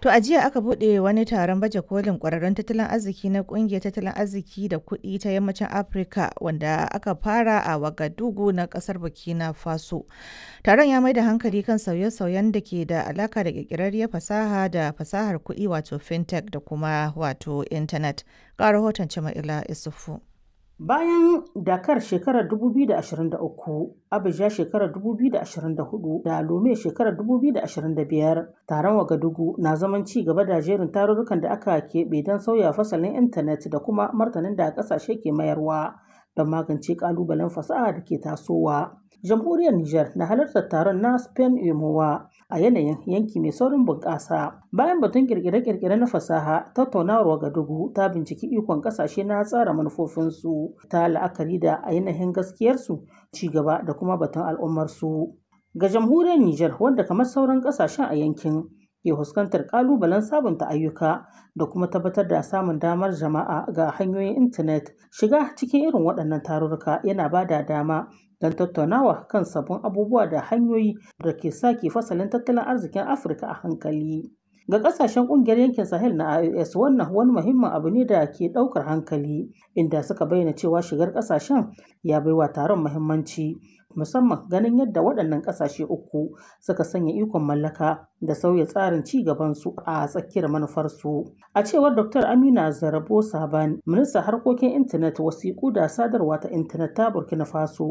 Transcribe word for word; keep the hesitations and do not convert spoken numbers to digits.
To a jiya aka buɗe wani taron baje kolin ƙwararrun tattalin arziki na ƙungiyar tattalin arziki da kuɗi ta Yammacin Afirka wanda aka fara a Wagadugu na ƙasar Burkina Faso. Taron ya mai da hankali kan sauye-sauyen da ke da alaka da ƙirƙirarriyar fasaha da fasahar kuɗi wato fintech da kuma wato intanet. Ga rahoton Jama'ila Isufu. Bayan Dakar shekarar dubu biyu da ashirin da uku, Abuja shekarar dubu biyu da ashirin da huɗu da Lome shekarar dubu biyu da ashirin da biyar, taron Wagadugu na zaman ci gaba da jerin tarurrukan da aka keɓe don sauya fasalin intanet da kuma martanin da ƙasashe ke mayarwa don magance ƙalubalen fasaha da ke tasowa. Jamhuriyar Nijar na halartar taron na Spain UMOA a yanayin yanki mai saurin bunƙasa. Bayan batun kirkire-kirkire na fasaha, tattaunawar Wagadugu ta binciki ikon ƙasashe na tsara manufofinsu ta la'akari da ainihin gaskiyarsu, ci gaba da kuma batun al'ummarsu. Ga jamhuriyar Nijar, wanda kamar sauran ƙasashen a yankin ke fuskantar ƙalubalen sabunta ayyuka da kuma tabbatar da samun damar jama'a ga hanyoyin intanet, shiga cikin irin waɗannan tarurruka yana ba da dama don tattaunawa kan sabbin abubuwa da hanyoyi da ke sake fasalin tattalin arzikin Afirka a hankali. Ga ƙasashen ƙungiyar yankin Sahel na I O S, wannan wani muhimmin abu ne da ke ɗaukar hankali, inda suka bayyana cewa shigar ƙasashen ya baiwa taron muhimmanci, musamman ganin yadda waɗannan ƙasashe uku suka sanya ikon mallaka da sauya tsarin ci gabansu a tsakiyar manufarsu. A cewar Dokta Amina Zarabo Saban, ministan harkokin intanet, wasiƙu da sadarwa ta intanet ta Burkina Faso,